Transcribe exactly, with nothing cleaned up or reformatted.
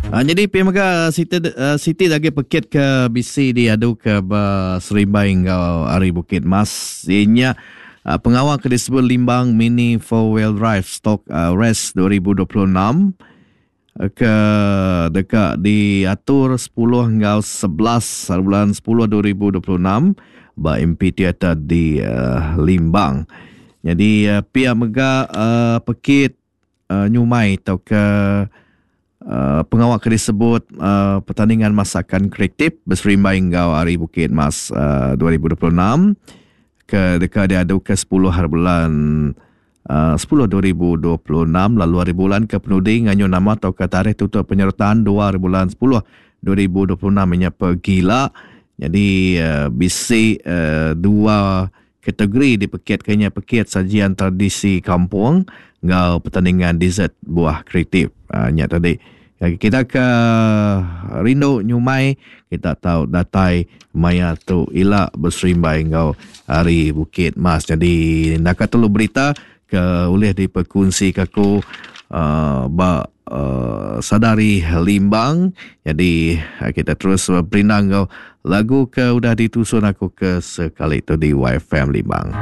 Uh, jadi P M G siti, uh, siti lagi pekit ke B C diadu ke Serimbai enggau Ari Bukit Mas. Ianya uh, pengawal ke disebut Limbang Mini Four Wheel Drive Stock uh, Race dua ribu dua puluh enam ke dekat diatur sepuluh hingga sebelas bulan sepuluh dua ribu dua puluh enam ba M P Theater di uh, Limbang. Jadi uh, pihak mega uh, pekit uh, nyumai atau ke Uh, pengawal ke disebut uh, pertandingan masakan kreatif berserimbai enggau Hari Bukit Mas uh, dua ribu dua puluh enam ke dekat diadu ke sepuluh hari bulan uh, sepuluh dua ribu dua puluh enam lalu hari bulan ke penuding nganyu nama atau ke tarikh tutup penyertaan dua hari bulan sepuluh dua ribu dua puluh enam nya pergila. Jadi uh, bisi uh, dua kategori dipekit kenya pekit sajian tradisi kampung enggau pertandingan dessert buah kreatif. Uh, nya tadi kita ke rindu nyumai kita tahu datai maya tu ila berserimbai enggau Hari Bukit Mas. Jadi nak telu berita ke ulih diperkongsi ke aku uh, ba uh, Sadari Limbang. Jadi kita terus berindang enggau lagu ke udah ditusun aku ke sekali tu di Y F M Limbang.